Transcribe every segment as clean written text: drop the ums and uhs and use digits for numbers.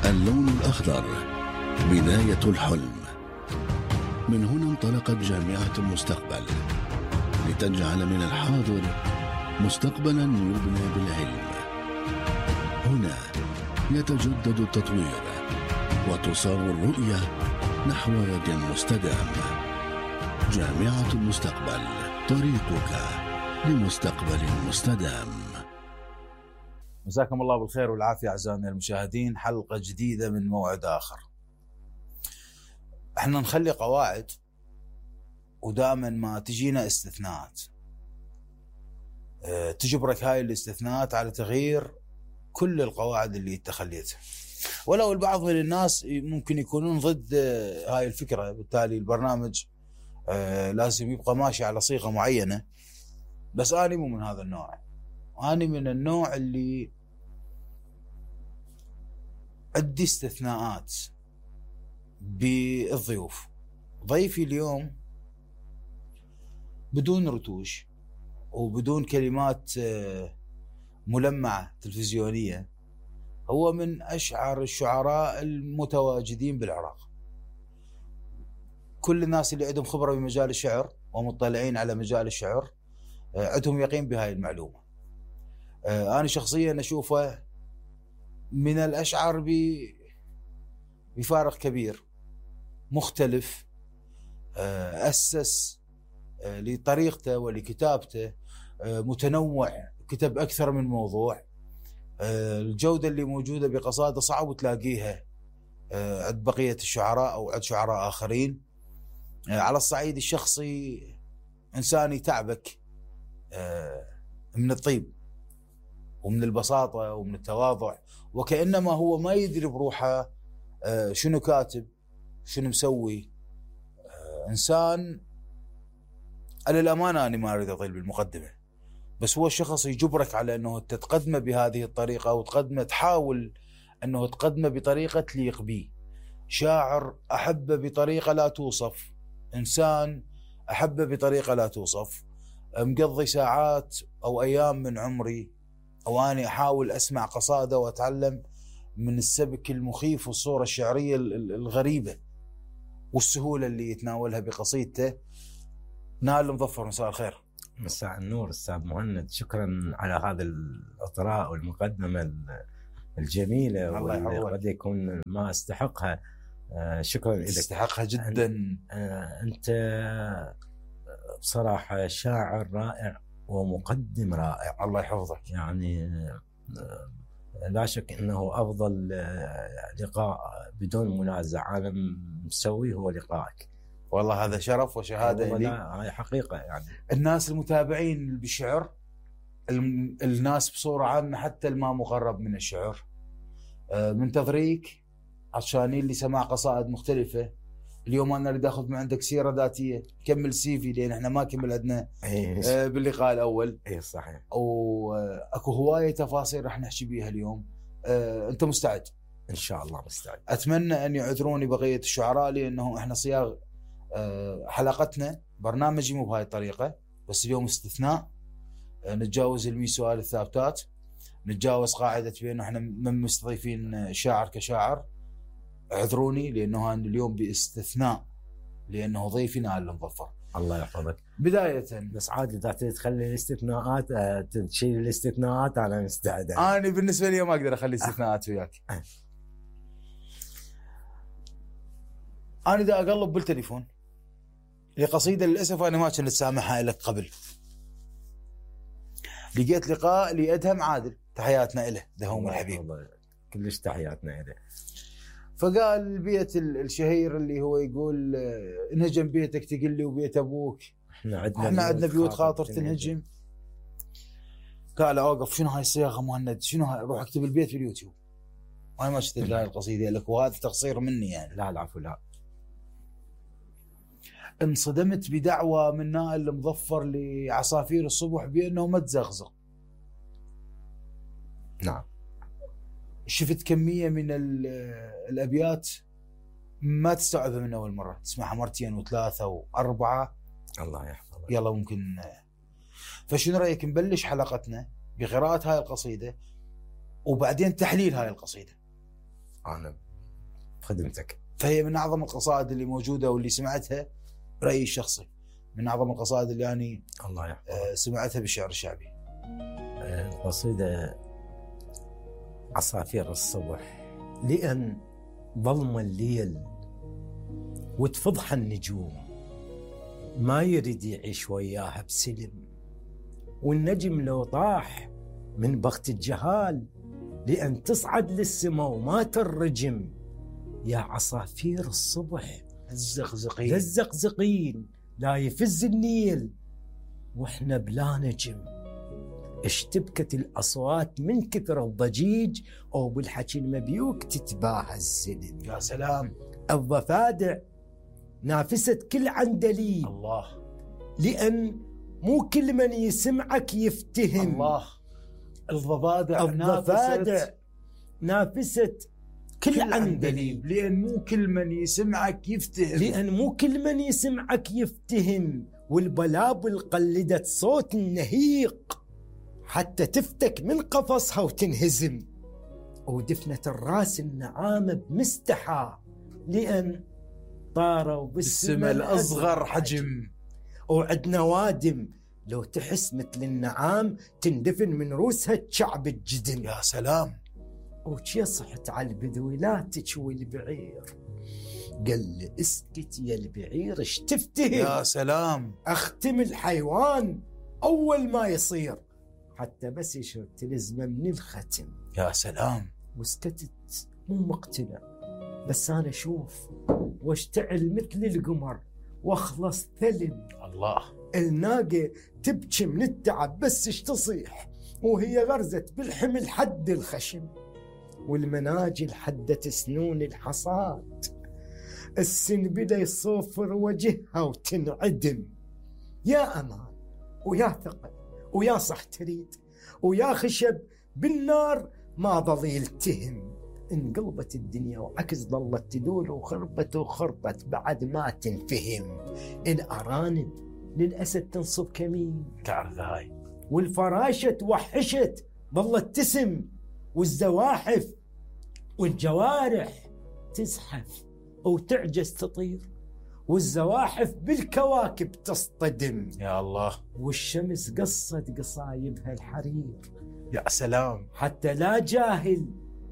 اللون الأخضر بداية الحلم. من هنا انطلقت جامعة المستقبل لتجعل من الحاضر مستقبلا يبنى بالعلم. هنا يتجدد التطوير وتصاغ الرؤية نحو غد مستدام. جامعة المستقبل، طريقك لمستقبل مستدام. مساكم الله بالخير والعافية أعزائنا المشاهدين، حلقة جديدة من موعد آخر. احنا نخلي قواعد ودائما ما تجينا استثناءات، تجبرك هاي الاستثناءات على تغيير كل القواعد اللي تخليتها، ولو البعض من الناس ممكن يكونون ضد هاي الفكرة. بالتالي البرنامج لازم يبقى ماشي على صيغة معينة، بس أنا مو من هذا النوع. أنا من النوع اللي عندي استثناءات بالضيوف. ضيفي اليوم بدون رتوش وبدون كلمات ملمعة تلفزيونية، هو من أشعر الشعراء المتواجدين بالعراق. كل الناس اللي عندهم خبرة بمجال الشعر ومطلعين على مجال الشعر عندهم يقين بهاي المعلومة. أنا شخصيا أشوفه من الأشعار بفارق كبير، مختلف، أسس لطريقته ولكتابته، متنوع، كتب أكثر من موضوع. الجودة اللي موجودة بقصائده صعب تلاقيها عند بقية الشعراء أو عند شعراء آخرين. على الصعيد الشخصي إنسان يتعبك من الطيب ومن البساطة ومن التواضع، وكأنما هو ما يدري بروحه شنو كاتب شنو مسوي. إنسان على الأمانة أنا ما أريد أطيل بالمقدمة، بس هو الشخص يجبرك على أنه تتقدمه بهذه الطريقة، وتقدمه تحاول أنه تقدمه بطريقة تليق به. شاعر أحبه بطريقة لا توصف، إنسان أحبه بطريقة لا توصف. مقضي ساعات أو أيام من عمري أو أنا أحاول أسمع قصائده وأتعلم من السبك المخيف والصورة الشعرية الغريبة والسهولة اللي يتناولها بقصيدته. نائل المظفر، مساء الخير. مساء النور أستاذ مهند، شكرا على هذا الإطراء والمقدمة الجميلة واللي قد يكون ما استحقها. شكرا لك. استحقها جدا. أنت بصراحة شاعر رائع ومقدم رائع، الله يحفظك. يعني لا شك أنه أفضل لقاء بدون منازع أنا مسويه هو لقائك. والله هذا شرف وشهادة لي. هاي حقيقة. يعني الناس المتابعين بالشعر، الناس بصورة عامة، حتى الما مقرب من الشعر، منتظريك عشان اللي سمع قصائد مختلفة. اليوم أنا أريد أخذ من عندك سيرة ذاتية، كمل CV لأن إحنا ما كمل عندنا باللقاء الأول. صحيح. وأكو هواية تفاصيل رح نحكي بيها اليوم. أنت مستعد؟ إن شاء الله مستعد. أتمنى أن يعذروني بقية الشعراء لأنه إحنا صياغ حلقتنا برنامجي مو بهاي الطريقة، بس اليوم استثناء. نتجاوز 100 سؤال الثابتات، نتجاوز قاعدة بأنه إحنا من مستضيفين شاعر كشاعر. اعذروني لأنه أنا اليوم باستثناء، لأنه ضيفي نائل المظفر. الله يحفظك. بداية بس عادي إذا تخلي الاستثناءات، تشيل الاستثناءات، أنا مستعد. أنا بالنسبة لي ما أقدر أخلي استثناءات وياك. أنا إذا أقلب بالتليفون لقصيدة للأسف أنا ما كنت سامحها لك قبل، لقيت لقاء لأدهم عادل، تحياتنا إله دهوم الحبيب. كلش تحياتنا إله. فقال البيت الشهير اللي هو يقول انهجم بيتك تقل لي وبيت أبوك، احنا عندنا بيوت خاطر تنهجم. قال أوقف، شنو هاي الصياغة مهند؟ شنو هاي؟ روح اكتب البيت في اليوتيوب. أنا ما شفت هاي القصيدة لك، وهذا تقصير مني يعني. لا العفو. لا، انصدمت بدعوة من نائل المظفر لعصافير الصبح بأنه ما تزغزغ. نعم. شفت كمية من الأبيات ما تستوعبها من أول مرة، تسمعها مرتين وثلاثة وأربعة. الله يحفظك. يلا ممكن. فشنو رأيك نبلش حلقتنا بقراءة هاي القصيدة وبعدين تحليل هاي القصيدة؟ انا بخدمتك. فهي من اعظم القصائد اللي موجوده واللي سمعتها برايي الشخصي من اعظم القصائد اللي يعني الله يحفظك سمعتها بالشعر الشعبي. القصيده عصافير الصبح، لأن ظلم الليل وتفضح النجوم، ما يريد يعيش وياها بسلم، والنجم لو طاح من بخت الجهال لأن تصعد للسما وما ترجم. يا عصافير الصبح الزقزقين لا يفز النيل واحنا بلا نجم. اشتبكت الأصوات من كثر الضجيج أو بالحكي المبيوك تتباهى السلم. يا سلام. الضفادع نافست كل عندليب، الله، لأن مو كل من يسمعك يفتهم. الله. الضفادع نافست كل عندليب، لأن مو كل من يسمعك يفتهم. والبلابل قلدت صوت النهيق حتى تفتك من قفصها وتنهزم. ودفنت الراس النعامة بمستحى، لأن طاروا بالسما الأصغر حجم. وعدنا وادم لو تحس مثل النعام تندفن من روسها تشعب الجدم. يا سلام. وشي صحت على البدوي لا تشوي البعير، قال لي اسكت يا البعير اش تفتهم. يا سلام. اختم الحيوان اول ما يصير حتى بس يشرب تلزمه من الختم. يا سلام. وسكتت مو مقتنع، بس انا اشوف واشتعل مثل القمر واخلص ثلم. الله. الناقه تبكي من التعب بس اش تصيح وهي غرزت بالحمل حد الخشم، والمناجل حدت سنون الحصاد، السنبلة يصوفر وجهها وتنعدم. يا أمان ويا ثقل ويا صح تريد ويا خشب بالنار ما ظل يلتهم. انقلبت الدنيا وعكس ظلت تدور وخربت بعد ما تنفهم. الأرانب للأسد تنصب كمين، تعرف هاي، والفراشة توحشت ظلت تسم، والزواحف والجوارح تزحف وتعجز تطير، والزواحف بالكواكب تصطدم. يا الله. والشمس قصت قصايبها الحرير. يا سلام. حتى لا جاهل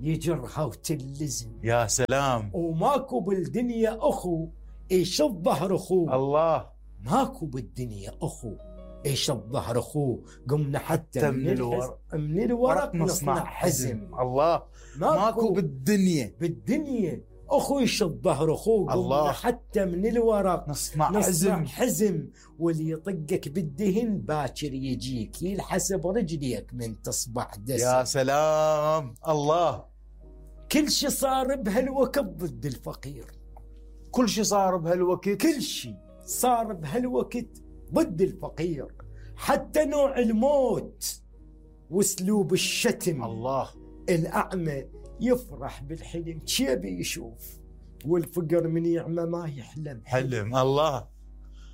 يجرها وتلزم. يا سلام. وماكو بالدنيا أخو إيش الظهر أخوه. الله. ماكو بالدنيا أخو إيش الظهر أخوه. قمنا حتى من الورق نصنع حزم. الله. ماكو بالدنيا أخو إيش الظهر أخوه. الله. حتى من الورق نصنع حزم. واللي يطقك بالدهن باكر يجيك يلحسب رجليك من تصبح دسم. يا سلام. الله. كل شي صار بهالوقت ضد الفقير. كل شي صار بهالوقت ضد الفقير، حتى نوع الموت واسلوب الشتم. الله. الأعمى يفرح بالحلم شيبي يشوف، والفقر من يعمى ما يحلم حلم. الله.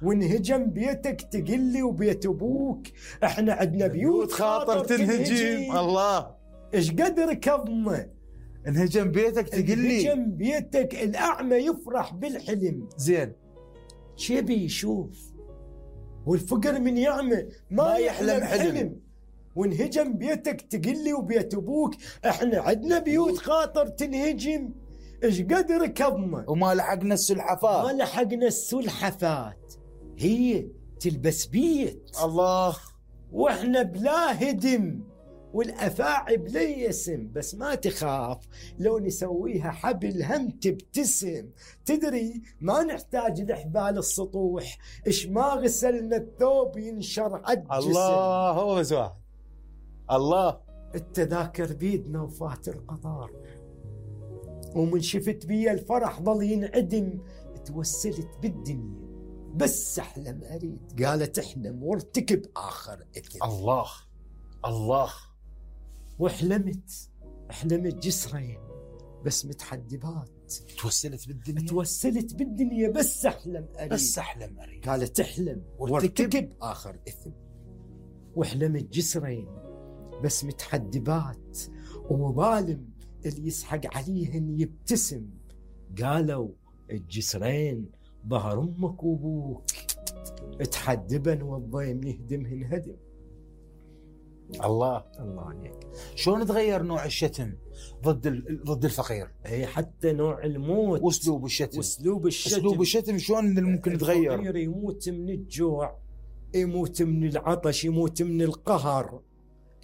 وانهجم بيتك تقلي وبيت ابوك احنا عندنا بيوت خاطر تنهجم. الله. ايش قدر كظمه. انهجم بيتك تقلي. انهجم بيتك. الأعمى يفرح بالحلم زين شيبي يشوف، والفقر من يعمى ما يحلم حلم. وانهجم بيتك تقلي وبيت ابوك احنا عندنا بيوت خاطر تنهجم. ايش قدر كظمه. وما لحقنا السلحفات هي تلبس بيت. الله. واحنا بلا هدم، والأفاعي بلا يسم. بس ما تخاف لو نسويها حبل هم تبتسم. تدري ما نحتاج لحبال السطوح، إش ما غسلنا الثوب ينشر عالجسم. الله. هو بس واحد. الله. التذاكر بيدنا وفات القطار، ومن شفت بي الفرح ظل ينعدم. توسلت بالدنيا بس أحلم أريد، قالت احلم وارتكب آخر إثم. الله. الله. وحلمت جسرين بس متحدبات. توسلت بالدنيا بس أحلم أريد، قالت احلم وارتكب آخر إثم. وحلمت جسرين بس متحدبات، ومظالم اللي يسحق عليهن يبتسم. قالوا الجسرين ظهر امك وابوك، تحدبن والضيم يهدمهن هدم. الله عليك. شلون تغير نوع الشتم ضد الفقير؟ اي حتى نوع الموت واسلوب الشتم. اسلوب الشتم شلون ممكن يتغير؟ الفقير يموت من الجوع، يموت من العطش، يموت من القهر،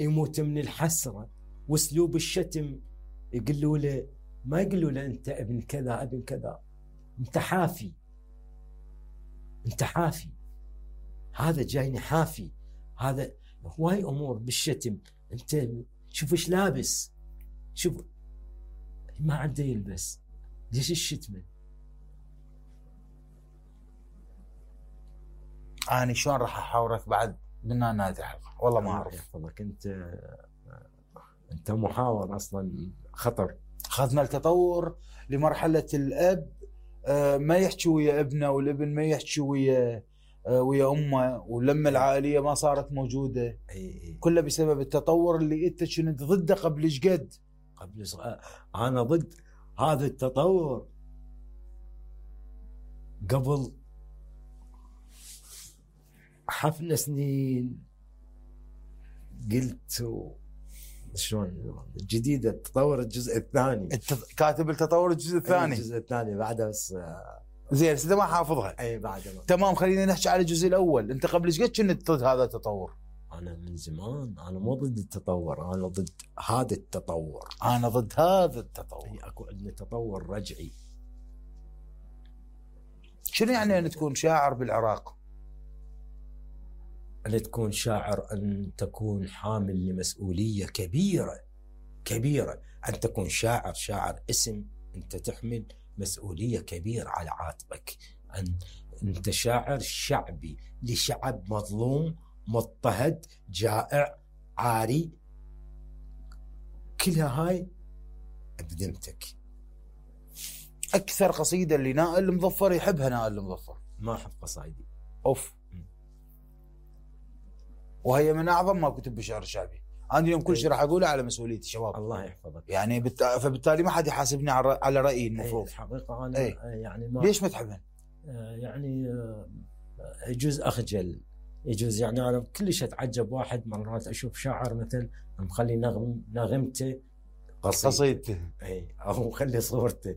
يموت من الحسرة. واسلوب الشتم يقولوا له، ما يقولوا له انت ابن كذا ابن كذا، انت حافي، انت حافي، هذا جايني حافي، هذا هواي امور بالشتم. انت شوف ايش لابس، شوف ما عنده يلبس، ليش الشتمه؟ أنا شلون راح أحاورك بعد من هذه الحلقة؟ والله ما أعرف. يحفظك أنت محاور أصلا خطر. أخذنا التطور لمرحلة الأب ما يحكي ويا ابنه، والابن ما يحكي ويا أمه، ولما العائلية ما صارت موجودة. كله بسبب التطور اللي أنت كنت ضده قبل إيش قد؟ أنا ضد هذا التطور قبل حفنا سنين. قلت شلون جديدة التطور الجزء الثاني، كاتب التطور الجزء الثاني. الجزء الثاني بعده بس زين انت ما حافظها. اي بعده تمام. خلينا نحكي على الجزء الاول. انت قبل ايش قد كنت ضد هذا التطور؟ انا من زمان انا مو ضد التطور، انا ضد هذا التطور. انا ضد هذا التطور. اكو عندنا تطور رجعي. شنو يعني ان تكون شاعر بالعراق؟ أن تكون شاعر أن تكون حامل لمسؤولية كبيرة كبيرة. أن تكون شاعر اسم، أنت تحمل مسؤولية كبيرة على عاتقك. أنت شاعر شعبي لشعب مظلوم مضطهد جائع عاري، كلها هاي بذمتك. أكثر قصيدة اللي نائل المظفر يحبها نائل المظفر. ما أحب قصايدي. أوف. وهي من أعظم ما كتب بالشعر الشعبي. أنا اليوم كل شيء راح أقوله على مسؤوليتي شباب. الله يحفظك. يعني فبالتالي ما حد يحاسبني على رأيي المفروض. الحقيقة أنا يعني ما ليش ما تحبن؟ يعني يجوز أخجل، يجوز يعني أنا كلش أتعجب. واحد مرات أشوف شاعر مثل مخلي نغمته قصيدته، أو مخلي صورته